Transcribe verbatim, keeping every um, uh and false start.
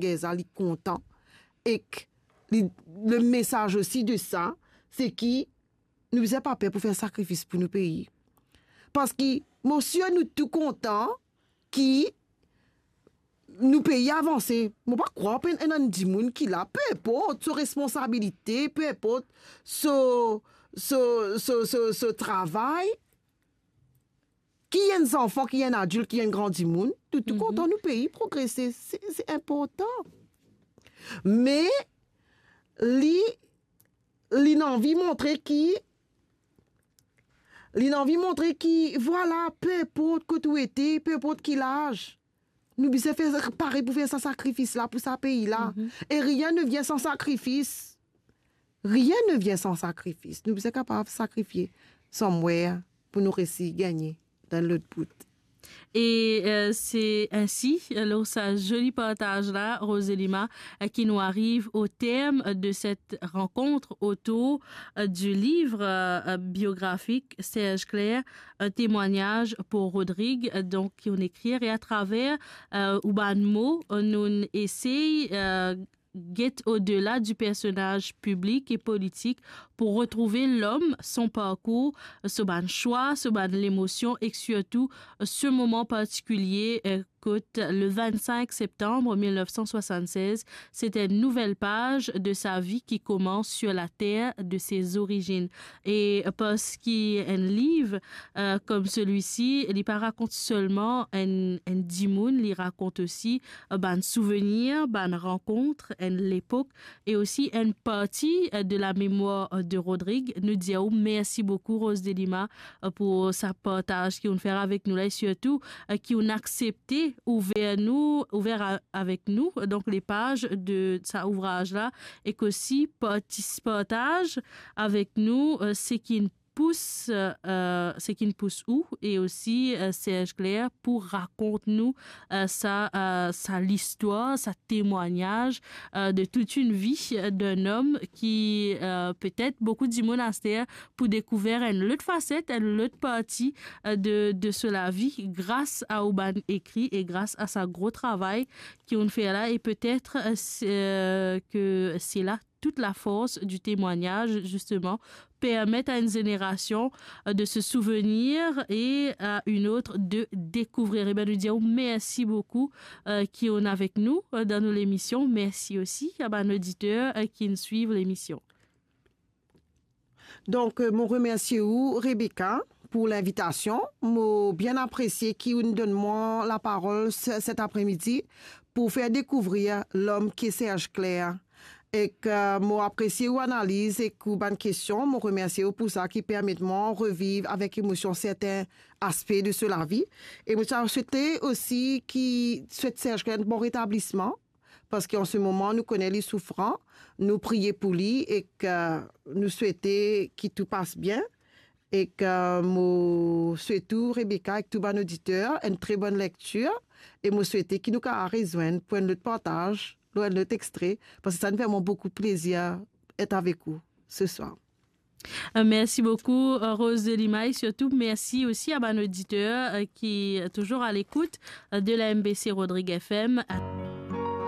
Gerza, li kontan. Ek li, le mesaz osi de sa, se ki nou bizin pa per pou fer sakrifis pou nou pei. Parski mo sir nou tou kontan ki nou pei avanse. Mo pa krwar pe ena enn dimoun ki la, pe inport so responsabilite, pe inport so, so, so, so, so travay, ki enn zanfan, ki enn adilt, ki enn gran dimoun, nou tou kontan nou pei progrese. Se, se inportan. Me li, li anvi montre ki, li anvi montre ki, vwala, pe inport kot ou ete, pe inport ki laz, nou bizin fer, pare pou fer sa sakrifis la, pou sa pei la. E rien ne vient sans sacrifice. Rien ne vient sans sacrifice. Nou bizin kapav sakrifie somewhere pou nou resi gagne dan lot bout. E, euh, se ensi, euh, lor sa zoli partaz la, Rose Delima, euh, ki nou ariv o term de set rankont otour, euh, di liv, euh, biografik Serge Clair, Un témoignage pour Rodrigue, euh, donk, ki ou'nn ekrir, e atraver, euh, ou bann mo, euh, nou'nn esey, euh, get odela di personaz piblik e politik pou retrouve lom, son parkour, so bann swa, so bann lemosion ek sirtou so moman partikilie, eh, kot le vingt-cinq septembre mille neuf cent soixante-seize, c'est une nouvelle page de sa vie qui commence sur la terre de ses origines. E parski enn liv, euh, comme celui-ci, li pa rakont selman enn, enn dimoun, li rakont osi, euh, bann souvenir, bann rankont, enn lepok, e osi enn parti, euh, de la mémoire, euh, de Rodrigue. Nou dir ou mersi boukou, Rose Delima, euh, pou sa partaz ki ou'nn fer avek nou la, e sirtou, euh, ki ou'nn aksepte ouver nou, ouver a-, avek nou, euh, donk, le paz de sa ouvraz la, ek osi parti-, partaz avek nou, euh, seki inn pous, euh, seki inn pous ou, e osi, euh, Serge Clair pou rakont nou, euh, sa, euh, sa listwar, sa temwagnaz, euh, de toute une vie, euh, d'un homme ki, euh, petet boukou dimoun aster pou dekouver enn lot faset, enn lot parti, euh, de, de so lavi, gras a ou bann ekri e gras a sa gro travay ki ou'nn fer la, e petet, euh, se, euh, ke se la toute la force du témoignage, justement, permet à une génération, euh, de se souvenir et à une autre de découvrir. E ben, nou dir ou mersi boukou, euh, ki ou'nn avek nou, euh, dan nou lemision. Mersi osi a bann oditer, euh, ki inn swiv lemision. Donk, euh, mo remersie ou, Rebecca, pou linvitasion. Mo bien apresie ki ou'nn donn mwa laparol se-, set apremidi pou fer dekouvrir lom ki Serge Clair. Ek, euh, mo apresie ou analiz ek ou bann kestion. Mo remersie ou pou sa ki permet mwa reviv avek emosion sertin aspe de so lavi. E mo ti a swete osi ki swet Serge Clair enn bon retablisman, parski an se moman nou kone li soufran, nou priye pou li ek, euh, nou swete ki tou pas bien. Ek, euh, mo swete ou, Rebecca, ek tou bann oditer, enn tre bonn lektir, e mo swete ki nou kapav rezwenn pou enn lot partaz, lor enn lot extre, parski sa inn fer mwa boukou plezir et avek ou se swar. Euh, mersi boukou, euh, Rose Delima, e sirtou mersi osi a bann oditer, euh, ki touzour a lekout, euh, de la M B C Rodrigue F M.